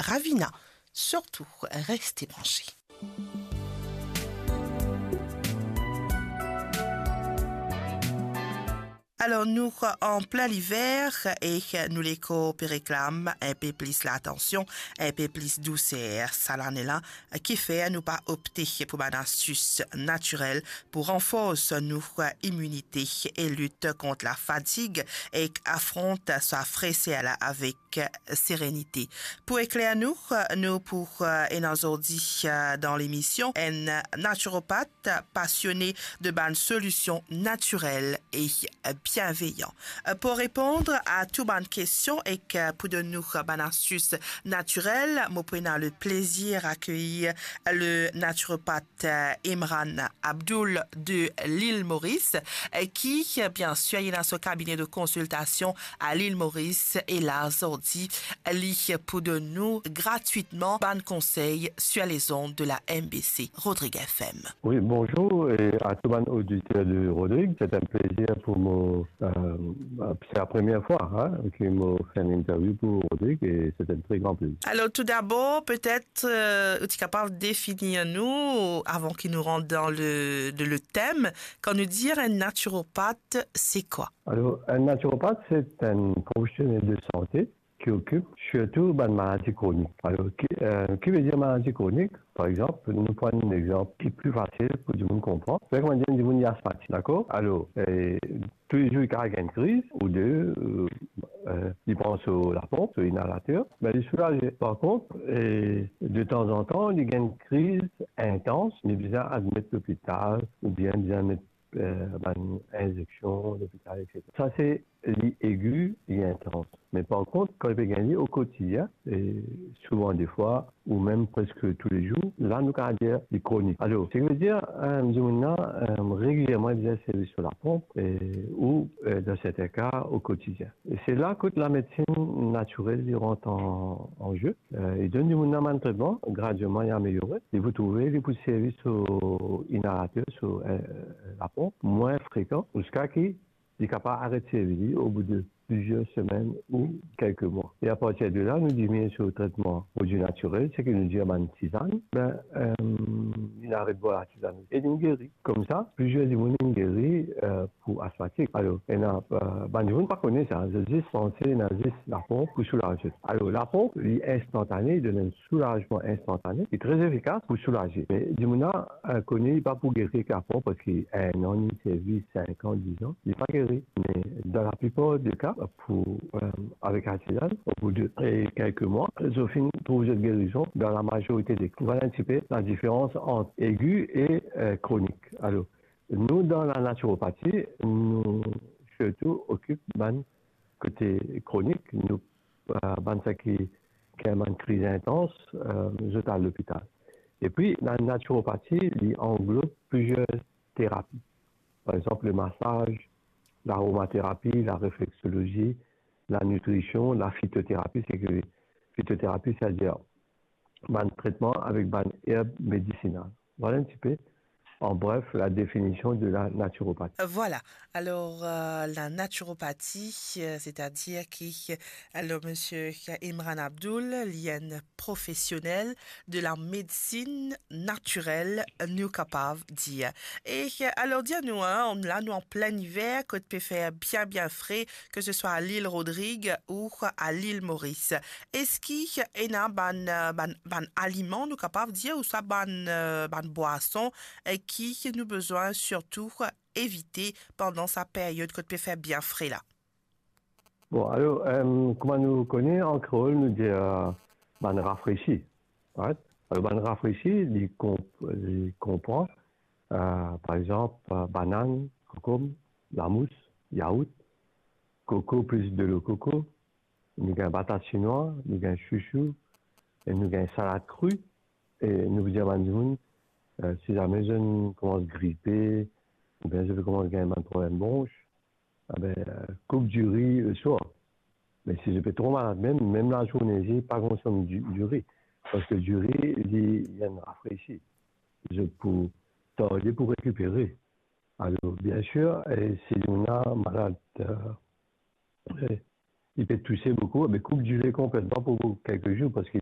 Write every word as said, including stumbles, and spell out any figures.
Ravina. Sirtou, reste branche. Alor, nou an plin liver e nou lekor pe reklam inpe plis latansion, inpe plis douser. Sa lane la, kifer nou pa opte pou bann astis natirel pou ranfors nou iminite e lit kont lafatig ek afront sa freser la avek serenite. Pou ekler nou, nou pou, eh, ena zordi, eh, dan lemision, enn natiropat pasione de bann solision natirel e bienveyan. Eh, pou reponn a tou bann kestion ek, eh, pou donn nou bann astis natirel, mo pou ena le plezir akeyir le natiropat eh, Imran Abdoul de Lil Moris, eh, ki, eh, biensir, li ena so kabine de konsiltasion a Lil Moris, e la zordi, li pou donn nou gratwitman bann konsey sur les ondes de la M B C Rodrigue F M. Oui, bonjour, et à tout bann oditer de Rodrigue. C'est un plaisir pour moi, euh, c'est la première fois, hein, que mo fer enn interview pour Rodrigue, et c'est un très grand plaisir. Alors, tout d'abord, peut-être, euh, ou ti kapav definir nou, avan ki nou rant dan le, de, le tem, kan nou dir enn natiropat, se kwa? Alors, un naturopathe, c'est un professionnel de santé qui occupe surtout bann maladi kronik. Alors, ki, euh, ki ve dir maladi kronik? Par exanp, nou pran enn exanp ki pli fasil pou dimoun konpran. Par exanp, dimoun li asmatik, dakor? Alors, eh, tou le zour li kapav gagn enn kriz ou de, euh, eh, li pran so laponp, so inalater, me li soulaze. Par kont, eh, de tanzantan, li gagn enn kriz intans, li bizin admet lopital oubien bizin met, eh, bann inzeksion lopital, et cetera. Sa se li egi, li intans. Me par kont, kan li pe gagn li o kotidien, e souvan defwa, ou mem preske tou le zour, la nou kapav dir li kronik. Alor, seki ve dir, eh, dimoun la, eh, regilierman li bizin servi so laponp, eh, ou, eh, dan sertin ka, o kotidien. E se la kot lamedsin natirel li rant an, an ze. Eh, li donn dimoun la bann tretman, gradieman li ameliore. Li pou trouve, li pou servi so inalater, so, eh, laponp, mwin frekan, ziska ki li kapav aret servi li obout de plizier semenn ou kelke mwa. E apartir de la, nou diminie so tretman prodwi natirel, seki nou dir bann tizann, be, eh, li aret bwar latizann e li geri. Koumsa, plizier dimoun inn geri, eh, pou asmatik. Alor, ena, eh, bann dimoun pa kone sa, zot zis panse ena zis laponp pou soulaz zot. Alor, laponp, li instantane, li donn enn soulazman instantane, li tre efikas pou soulaze. Me dimoun la, eh, kone li pa pou geri ek laponp, parski enn an li servi, sink an, diz an, li pa geri. Me dan laplipar de ka, pou, eh, avek latizann, obout de, eh, kelke mwa, zot finn trouv zot gerizon dan lamazorite de ka. Vwala enn tipe ladiferans ant egi e, eh, kronik. Alor, nou, dan lanatiropati, nou sirtou okip bann kote kronik, nou, eh, bann seki gagn bann kriz intans, eh, zot al lopital. Epi, lanatiropati, li anglob plizier terapi. Par exanp, le masaz, laromaterapi, larefleksolozi, lanitrision, lafitoterapi, seki fitoterapi, setadir bann tretman avek bann erb medisinal. Vwala enn tipe, an bref, ladefinision de lanatiropati. Vwala. Alor, eh, lanatiropati, eh, setadir ki, alor, misie Imran Abdoul, li enn profesionel de lamedsin natirel, nou kapav dir. E, eh, alor, dir nou, hein, la nou an plin iver, kot pe fer bien, bien fre, ke se swa a Lil Rodrig ou a Lil Moris. Eski ena bann, eh, bann, bann aliman, nou kapav dir, ouswa bann, eh, bann bwason, eh, ki nou bizin sirtou evite pandan sa period kot pe fer bien fre la? Bon, alor, eh, kouma nou kone, an kreol, nou dir, eh, bann rafresi, right? Alor, bann rafresi, li konp-, li konpran, eh, par exanp, eh, banann, konkonm, lamous, yaourt, koko plis delo koko, nou gagn batat sinwa, nou gagn sousou, e nou gagn salad kri, e nou bizin dir bann dimoun, eh, si zame zot inn koumans gripe, oubien zot pe koumans gagn bann problem bronch, abe, eh, koup diri leswar. Me si zot pe tro malad mem, mem lazourne, pa konsom di-, diri. Parski diri, li, li enn rafresi. Zot pou tarde pou rekipere. Alor, biensir, eh, si nou ena malad, eh, eh, il peut tousser beaucoup, mais coupe du lait complètement pour quelques jours parce qu'il